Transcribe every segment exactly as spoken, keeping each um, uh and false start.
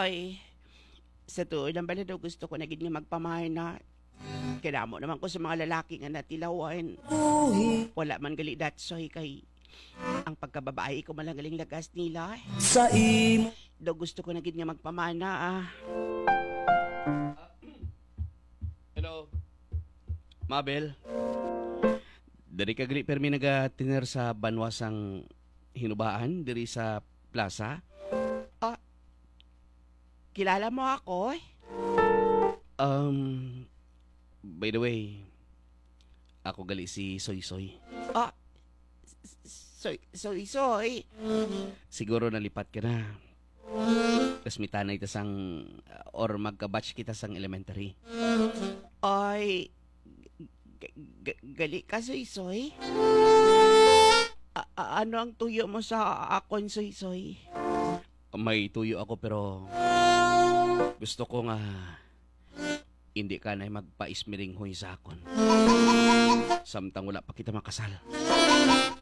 Ay, sa tuod lang bala daw gusto ko na gid nga magpamana. Kay damo naman ko sa mga lalaki nga natilawan. Wala man gali datsoy kay ang pagkababayi ko man lang galing lagas nila. Sa imo. Daw gusto ko na gid nga magpamana, ah. Hello. Mabel. Diri ka gali permi nagatiner sa banwa sang Hinubaan diri sa plaza? Ah, kilala mo ako? Um, by the way, ako gali si Soy Soy. Ah, Soy, Soy Soy. Siguro nalipat ka na. Classmate-anay ta sang, or magka-batch kita sang elementary. Ay, g-, g-, gali ka, Soy Soy? A-, a-, ano ang tuyo mo sa akon, Soy Soy? May tuyo ako, pero gusto ko nga hindi ka na magpaismiringhoy sa akon. Samtang wala pa kita makasal.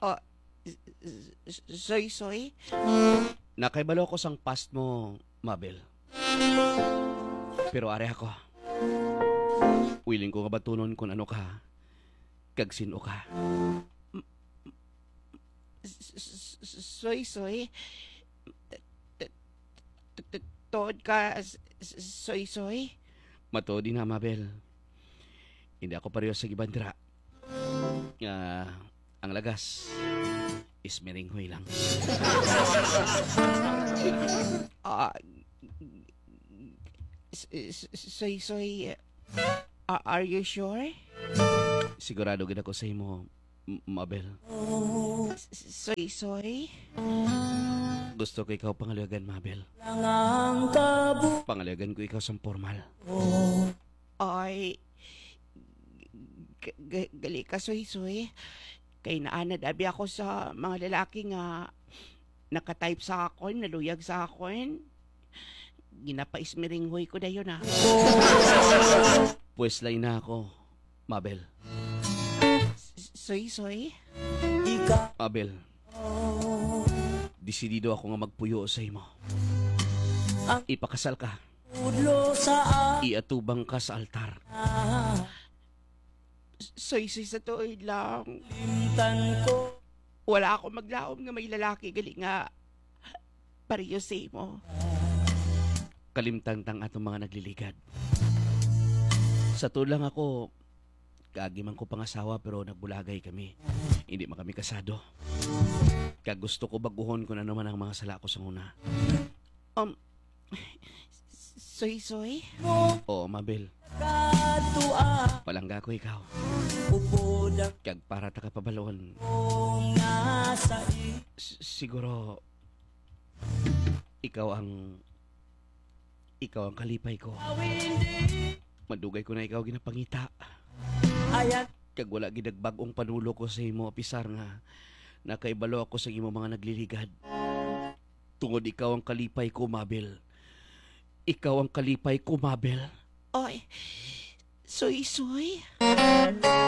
Ah, s-, s-, s-, Soy Soy? Nakaibalo ko sang past mo, Mabel. Pero ari ako. Willing ko nga batunon kung ano ka, kag sin-o ka. S-, s-, s-, Soy Soy? T-, t-, t-, t-, tuod ka, s-, s-, Soy Soy? Matuod ina, Mabel. Hindi ako pareho sa iban dira. Nga ang lagas is miringhoy lang. Ah, s-, s-, Soy Soy, a-, are you sure? Sigurado gid ako sa imo, M-, Mabel. S-, s-, Soy Soy? Gusto ko ikaw pangaluyagan, Mabel. Pangaluyagan ko ikaw sang pormal. Ay, g-, g-, gali ka, Soy Soy. Kay naanad abi ako sa mga lalaki nga naka-type sa akon, naluyag sa akon. Ginapaismiringhoy ko dayon, ah. Pues, lain na ako, Mabel. S-, Soy Soy? Mabel, desidido ako nga magpuyo sa imo. Ipakasal ka. Iatubang ka sa altar. Soy Soy, sa tuod lang, wala ako maglaom nga may lalaki gali nga pareho sa imo. Kalimtan tang atong mga nagliligad. Sa tuod lang ako, kaagi man ko pangasawa pero nagbulagay kami. Hindi man kami kasado. Kag gusto ko baguhon kung ano man ang mga sala ko sa una. Um, Soy Soy? Oo, Mabel. Palangga ko ikaw. Kag para ta kapabalon, s-, siguro ikaw ang, ikaw ang kalipay ko. Madugay ko na ikaw ginapangita. Kag wala gid nagbag-ong panulo ko sa imo, apisar nga nakaibalo ako sa imo mga nagliligad. Tungod ikaw ang kalipay ko, Mabel. Ikaw ang kalipay ko, Mabel. Oy, Soy Soy?